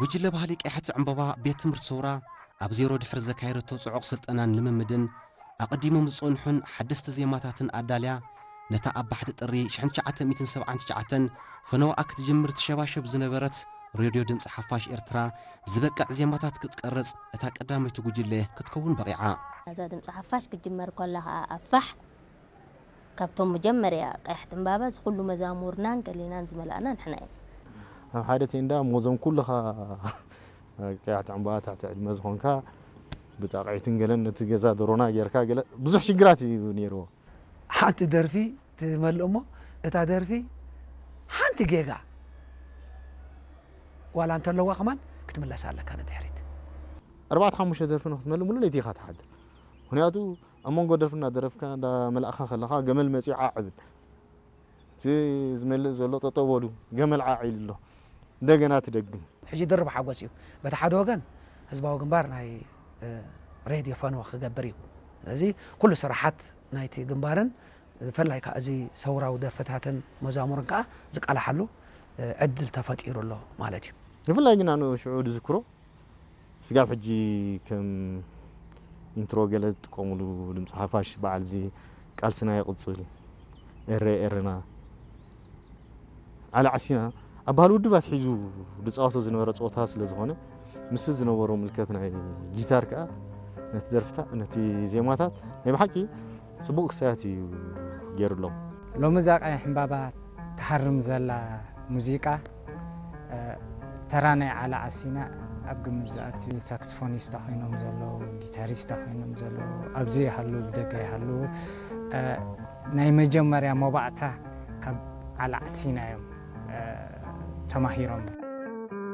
ጉጅለ ባህሊ ቀያሕቲ ዕምባባ ቤት ትምህርቲ ሰውራ ኣብ ዜሮ ድሕሪ ዘካየደቶ ጽዑቕ ስልጠናን ልምምድን ኣቐዲሞም ዝጸንሑን ሓደስቲ ዜማታትን ኣዳልያ፣ ነታ ኣብ ባሕቲ ጥሪ ሽሕን ትሽዓተ ሚእትን ሰብዓን ትሽዓተን ፈነዋኣ ክትጅምር ትሸባሸብ ዝነበረት ሬድዮ ድምፂ ሓፋሽ ኤርትራ ዝበቅዕ ዜማታት ክትቀርጽ እታ ቀዳመይቲ ጉጅለ ክትከውን በቒዓ። እዛ ድምፂ ሓፋሽ ክትጅመር ከላ ከዓ ኣብ ፋሕ ካብቶም መጀመርያ ቀያሕቲ ዕምባባ እዚ ኩሉ መዛሙርናን ገሊናን ዝመላእና ንሕና እዮም። ኣብ ሓደ ቴንዳ ሞዞም ኩልኻ ቀያሕቲ ዕምባባ ትሕቲ ዕድመ ዝኾንካ ብጣቕዒትን ገለን ነቲ ገዛ ደሮና ጌርካ ገለ ብዙሕ ሽግራት እዩ ነይርዎ። ሓንቲ ደርፊ ትመልእ እሞ እታ ደርፊ ሓንቲ ጌጋ ዋላ እንተለዋ ከማን ክትምለስ ኣለካ ንድሕሪት። ኣርባዕተ ሓሙሽተ ደርፊ ንክትመልእ ሙሉ ለይቲ ኢኻ ትሓድር። ምክንያቱ ኣብ መንጎ ደርፊ እናደረፍካ እንዳመላእኻ ከለኻ ገመል መፂኡ ዓዕ እብል። እቲ ዝመልእ ዘሎ ጠጠው በሉ፣ ገመል ዓዕ ኢሉ ኣሎ። እንደገና ትደግም። ሕጂ ድርብ ሓጎስ እዩ። በቲ ሓደ ወገን ህዝባዊ ግንባር ናይ፣ እ፣ ሬድዮ ፈነወ ክገብር እዩ። ስለዚ ኩሉ ስራሓት ናይቲ ግንባርን ብፍላይ ከዓ እዚ ሰውራዊ ደርፍታትን መዛሙርን ከዓ ዝቃላሓሉ፣ እ፣ ዕድል ተፈጢሩ ኣሎ ማለት እዩ። ብፍላይ ግን ኣነ ሽዑ ዝዝክሮ ስጋብ ሕጂ ከም ኢንትሮ ገለ ዝጥቀሙሉ ድምፂ ሓፋሽ በዓል እዚ ቃልስና ይቕፅል፣ ኤረ ኤረና፣ ዓላ ዓሲና ኣብ ባህሊ ውድብ ኣትሒዙ ዝፃወቶ ዝነበረ ፀወታ ስለ ዝኾነ፣ ምስ ዝነበሮ ምልከት ናይ ጊታር ከዓ ነቲ ደርፍታ-፣ ነቲ ዜማታት ናይ ብሓቂ ፅቡቕ ክስታያት እዩ ገይሩሎም። ሎሚ እዛ ቀያሕ ዕምባባ ትሃርም ዘላ ሙዚቃ፣ እ፣ ተራ ናይ ዓላ ዓሲና ኣብ ግምት ዝኣቱ፣ ሳክስፎኒስታ ኮይኖም ዘለዉ፣ ጊታሪስታ ኮይኖም ዘለዉ፣ ኣብዚ ይሃሉ፣ ብደገ ይሃሉ፣ እ፣ ናይ መጀመርያ መባእታ ካብ ዓላ ዓሲና እዮም፣ እ፣ ተማሂሮም።